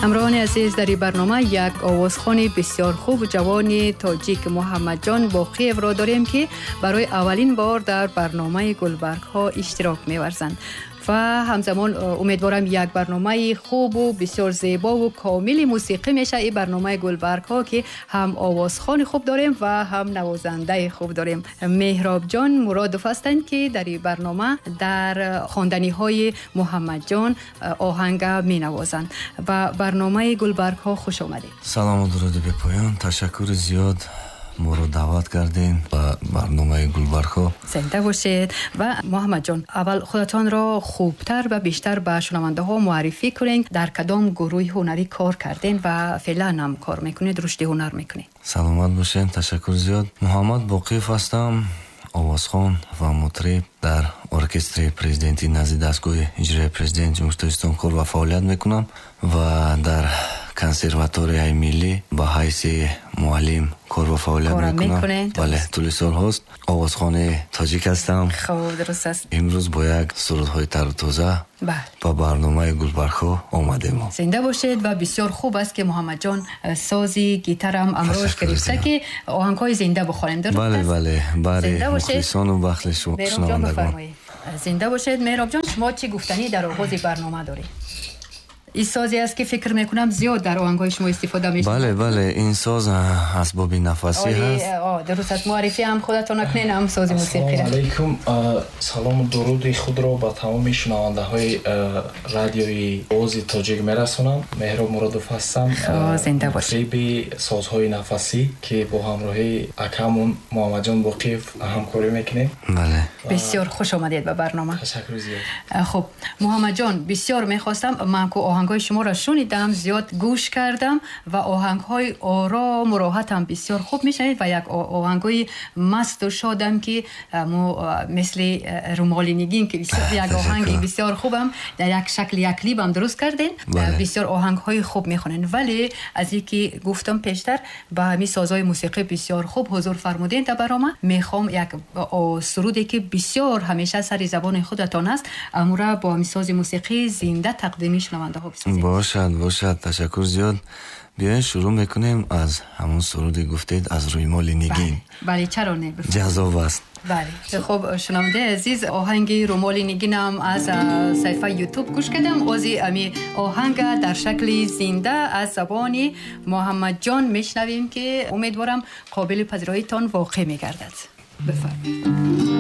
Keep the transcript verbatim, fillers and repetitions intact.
ҳамроҳони азиз, дар ин барнома як овозхони бисёр хуб, ҷавони тоҷик Муҳаммадҷон Боқиевро дорем, ки барои аввалин бор дар барномаи Гулбаргҳо иштирок меварзанд ва ҳамзамон умедворам, як барномаи хубу бисёр зебову комили мусиқӣ мешавад ин барномаи Гулбаргҳо, ки ҳам овозхони хуб дорем ва ҳам навозандаи хуб дорем. Меҳробҷон Муродов ҳастанд, ки дар ин барнома дар хонданиҳои Муҳаммадҷон оҳанга менавозанд. Ба барномаи Гулбаргҳо хуш омадед. Салому дуруди бепоён, ташаккури зиёд, моро даъват кардем ба барномаи Гулбаргҳо. Зинда бошед. Ва Муҳаммадҷон, аввал худатонро хубтар ва бештар ба шунавандаҳо муаррифӣ кунед. Дар кадом гурӯҳи ҳунарӣ кор кардем ва феълан ҳам кор мекунед, рушди ҳунар мекунед? Саломат бошед, ташаккур зиёд. Муҳаммад Боқиев ҳастам, овозхон ва мутриб. Дар оркестри президентӣ назди дастгоҳи иҷроияи президент Ҷумҳурии Тоҷикистон кор ва фаъолият мекунам ва дар консерваторияи миллӣ ба ҳайси муаллим кор ва фаъолият мекунам. Бале, тӯли солҳост. Овозхони тоҷик ҳастам. Хуб, дуруст аст. Имрӯз бо як сурудҳои тару тоза ба барномаи Гулбаргҳо омадем. Зинда бошед. Ва бисёр хуб аст, ки Муҳаммадҷон сози гитарам амрош гирифта, ки оҳангҳои зинда бихонем. Дуруст? Бале, бале, бари мухлисону бахли шунавандагон. Зинда бошед. Меҳробҷон, шумо чӣ гуфтанӣ дар оғози барнома доред? Ин созе аст, ки фикр мекунам, зиёд дар оҳангҳои шумо истифода мешавад. Бале, бале, ин соз асбоби нафасӣ ҳаст. Дуруст аст. Муаррифӣ ҳам худатон накунед, ҳам сози мусиқӣ. Ассалому алайкум, салому дуруди худро ба тамоми шунавандаҳои радиои Овози Тоҷик мерасонам. Меҳроб Муродов ҳастам. Зинда бошед. Мутриб созҳои нафасӣ, ки бо ҳамроҳии акамон Муҳаммадҷон Боқиев ҳамкорӣ мекунем. Бале. Бисёр хуш омадед ба барнома. Ташаккур зиёд. Хуб, Муҳаммадҷон, бисёр мехостам, ман ку оҳангҳои шуморо шунидам, зиёд гӯш кардам ва оҳангҳои орому роҳатам бисёр хуб мешунавед ва як оҳангҳои масту шодам, ки мо мисли Румоли нигин, ки як оҳанги бисёр хубам дар як шакли як клипам дуруст кардем, бисёр оҳангҳои хуб мехонед. Вале аз ин ки гуфтам пештар, ба ҳамин созҳои мусиқӣ бисёр хуб ҳузур фармудем дар барнома, мехоҳам як суруде, ки бисёр ҳамеша сари забони худатон аст, амура бо ҳамин сози мусиқӣ зинда тақдими шунавандаҳо бисозем. Бошад, бошад, ташаккур зиёд. Биёед, шурӯъ мекунем аз ҳамон суруде гуфтед, аз Рӯймоли нигин. Бале, чаро не? Ҷаззоб аст. Бале. Хуб, шунавандаи азиз, оҳанги Румоли нигинам аз саҳифаи Ютуб гӯш кардам. Ози ами оҳанга дар шакли зинда аз забони Муҳаммадҷон мешнавем, ки умедворам, қобили пазироитон воқеъ мегардад. Бифармоед.